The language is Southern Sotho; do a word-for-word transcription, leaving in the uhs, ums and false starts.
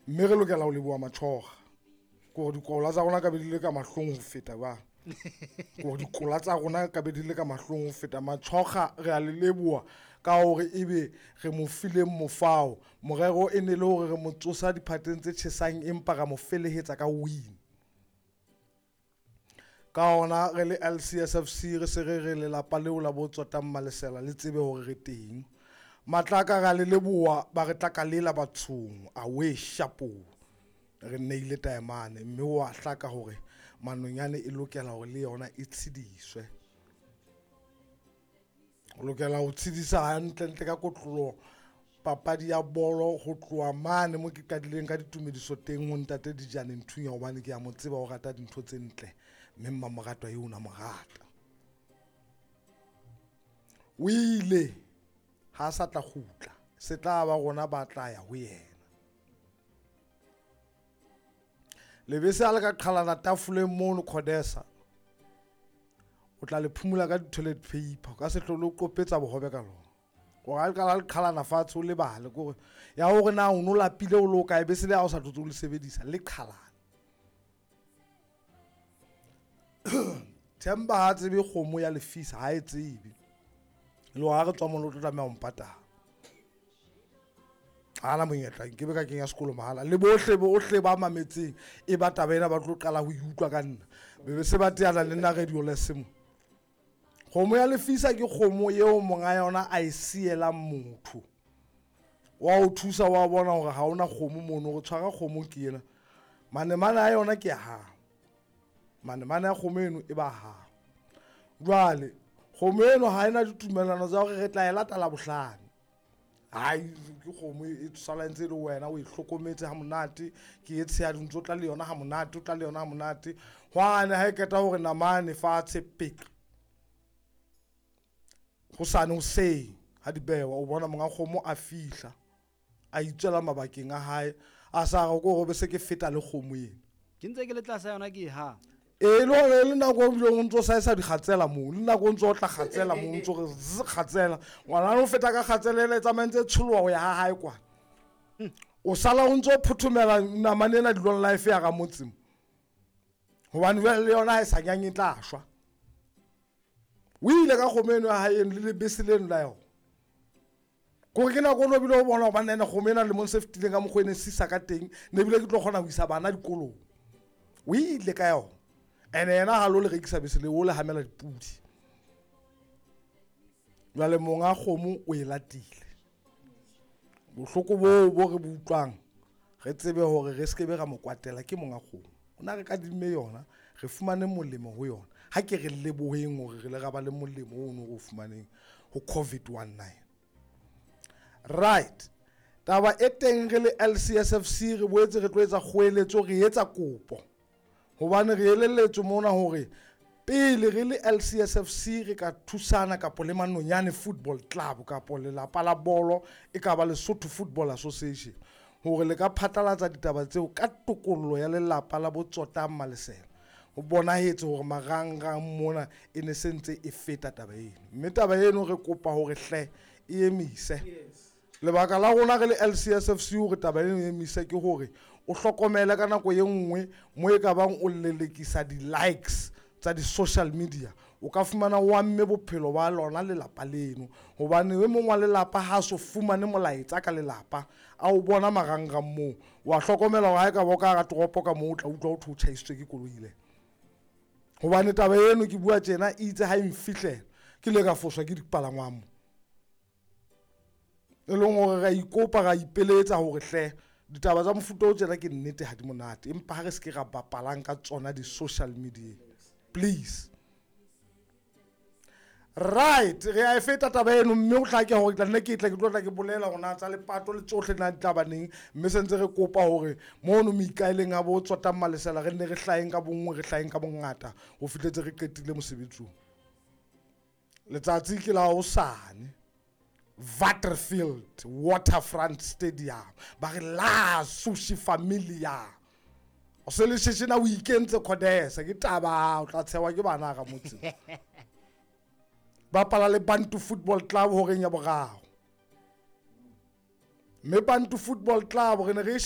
Mme re lokela ho leboha Matjhoga. Ke hore dikola tsa rona ka be di le ka mahlong ho feta jwang. Ke hore dikola tsa rona ka be di le ka mahlong ho feta. Matjhoga re a le leboha ka hore ebe re mo fileng mofao. Morero e ne le hore re mo tsosa diphateng tse tjhesang empa ra mo felehetsa ka win. Ka hona re le L C S F C re se re re lelapa leo la bo Tsotang Malesela le tsebe hore re teng. Matlaka ra le leboha ba re tla ka lela bathong a we shapo. Re neile taemane mme wa hlaka hore manonyane e lokela hore le yona e tshediswe. O lokela ho tshedisa hantle ntle ka kotloloho papadi ya bolo ho tloha mane mo ke qadileng ka ditumediso teng ho ntate Dijane Nthunya hobane ke a mo tseba o rata dintho tse ntle mme mmamoratwa eo na mo rata. O ile ha sa tla kgutla se tla ba rona ba tla ya ho yena. Lebese ha le ka qhalana tafoleng mono Khodesa o tla le phumula ka di-toilet paper ka se hlole o qopetsa bohobe ka lona. Hore ha le qala le qhalana fatshe o lebale kore ya hore na o no lapile o le o kae bese le ha o sa tlotse o le sebedisa le qhalana. Themba ha tsebe kgomo ya lefisa ha e tsebe. Le hore ha re tswa mono o tlo tlameha ho mpatala. Ha na monyetla nke be ka kenya sekolo mahala. Le bohle bohle ba mametseng e ba taba ena ba tlo qala ho e utlwa ka nna. Be be se ba teana le nna radio le semo. Kgomo ya lefisa ke kgomo eo monga yona a e sielang motho. Wa o thusa wa bona hore ha ona kgomo mono re tshwara kgomo ke ena. Manemane a yona ke ya hao. Manemane a kgomo eno e ba hao. Jwale kgomo eno ha ena ditumellano tsa hore re tla e lata Labohlano. Hai ke kgomo e sala ntse le wena o e hlokometse ha monate ke e tshehadi ntse o tla le yona ha monate o tla le yona ha monate. Hwane ha e qeta hore namane fatshe pek. Hosane hoseng ha di bewa o bona monga kgomo a fihla a itswela mabakeng a hae a sa re ko be se ke feta le kgomo ena. Ke ntse ke le tlasa yona ke ha. E le hore le nako o bileng o ntso saesa dikgatsela moo, le nako o ntso otla kgatsela moo, o ntso re zzz, kgatsela. Ngwana o feta ka kgatsela ele e tsamaya ntse e tsholoha ho ya ha hae kwana. O sala o ntso phothomela namane ena dilong life ya ka motseng. Hobane jwale le yona ha e sa nyanye e tla shwa. O ile ka kgomo eno ya hae eno le lebese leno la yona. Kore ke nako o no bile o bona hobane ena kgomo ena lemong se fetileng ka mokgwa e ne sisa ka teng, ne ebile ke tlo kgona ho isa bana dikolong. O ile ka yona. Ene yena ha lo le rekisa bese le o le hamela dipudi. Jwale monga kgomo o e latile. Bohloko boo bo re bo utlwang re tsebe hore re skebe ra mo kwatela ke monga kgomo. O na re kadimme yona, re fumane molemo ho yona. Ha ke re leboheng hore re le ra ba le molemo ono re o fumaneng ho COVID nineteen. Right. Taba e teng re le L C S F C re boetse re tlo etsa kgoeletso, re etsa kopo. Hobane re elelletswe mona hore pele re le L C S F C re ka thusana kapo le Manonyane Football Club kapo lelapa la bolo e ka ba Lesotho Football Association hore le ka phatlalatsa ditaba tseo ka tokollo ya lelapa la Botsotang Malesela. Ho bonahetse hore marangrang mona e ne se ntse e feta taba eno. Mme taba eno re kopa hore hle e emise. Lebaka la rona re le L C S F C hore taba eno e emise ke hore o hlokomele ka nako e nngwe mo e ka bang o lelekisa di-likes tsa di-social media o ka fumana o amme bophelo ba lona lelapa leno. Hobane e mong wa lelapa ha so fumane molaetsa ka lelapa a o bona marangrang moo wa hlokomela hore ha e ka ba o ka hara toropo ka moo o tla utlwa ho thwe o tjhaisitswe ke koloi le. Hobane taba eno ke bua tjena e itse ha e nfihlela ke ile ka foswa ke dipalangwang mo. E leng hore ra ikopa ra ipeletsa hore hle ditaba tsa mofuta o tjena ke nnete ha di monate empa ha re se ke ra bapalang ka tsona di-social media. Please. Right, re a e feta taba eno mme o hlake hore ke tla nne ke tle ke tlo tla ke bolela hore na tsa lepato le tsohle na di tla ba neng mme se ntse re kopa hore mono meikaeleng a bo Tsotang Malesela re nne re hlaheng ka bonngwe re hlaheng ka bongata ho fihletse re qetile mosebetsi oo. Letsatsi ke la hosane Waterfield Waterfront Stadium ba re la Sushi Familia. O se le sheshena o ikentse Khodesa ke taba o tla tshewa ke bana ka motse. Bapala le Bantu Football Club horeng ya boraro. Mme Bantu Football Club re ne re